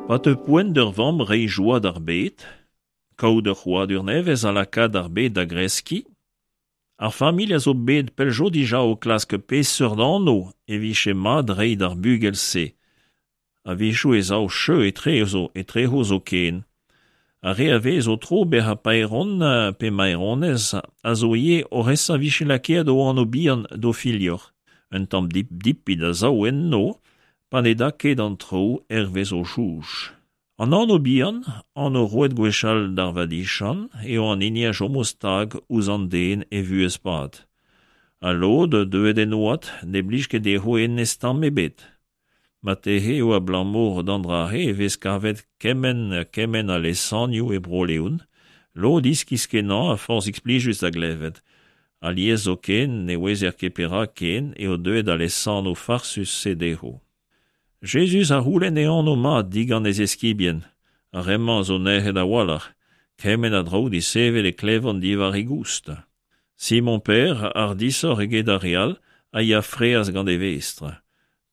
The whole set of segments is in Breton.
Pa teu poent d'ur vamm reiñ joa d'ar bed, kaout ur c'hrouadur nevez ha lakaat ar bed da greskiñ, ar familh a zo bet pell zo dija o klask peseurt anv e vije mat reiñ d'ar bugel-se. A-wechoù e sav cheu etrezo etrezo zoken. Ar re a vez o tro bezañ paeron pe maeronez a zo ivez oc'h esa 'vije lakaet o anv-bihan d'o filhor. Un tamm dip-dipit a sav enno pa ne da ket an traoù hervez o soñj. An anv-bihan, anv roet gwechall d'ar vadiziant, eo an hini a chomo stag ouzh an den e vuhez-pad. Ha lod, deuet en oad, ne blij ket dezho hennezh tamm ebet. Marteze eo abalamour d'an dra-se e vez kavet kement ha kement a lesanioù e Bro-Leon, lod iskis-kenañ ha forzhik plijus da glevet. Alies zoken ne ouezer ket perak ken eo deuet al lesanv farsus-se dezho. Jezuz a c'houlenn e anv mat digant e zeskibien. Ar re-mañ zo nec'het a-walc'h. Kement a draoù disheñvel e klevont diwar e goust. Simon-Pêr, hardishoc'h eget ar re all, a ya fraezh gant e vestr.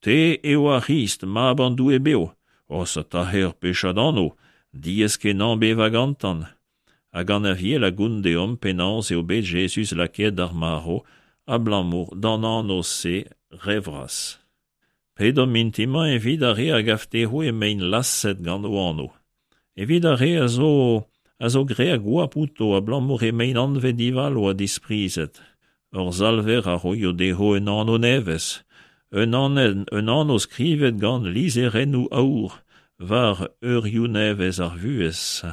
Te eo ar C'hrist, mab an Doue bev. Orsataer ur pechad anv, diaes-kenañ bevañ gantañ. Hag an Aviel a gont deomp penaos eo bet Jezuz lakaet d'ar marv abalamour d'an anv-se re vras. Pedomp mintin-mañ evit ar re a gav dezho emaint laset gant o anv. Evit ar re a zo a zo graet goap outo abalamour emaint anvet divalo ha disprizet. Hor Salver a roio dezho un anv nevez, un un anv skrivet gant lizherennoù aour war eurioù nevez ar vuhez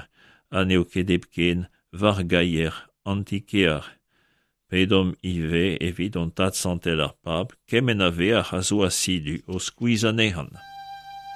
ha n'eo ket hepken war gaier an ti-kear. Pedomp ivez evit hon Tad Santel ar Pab kement a veac'h a zo asidu o skuizhañ anezhañ.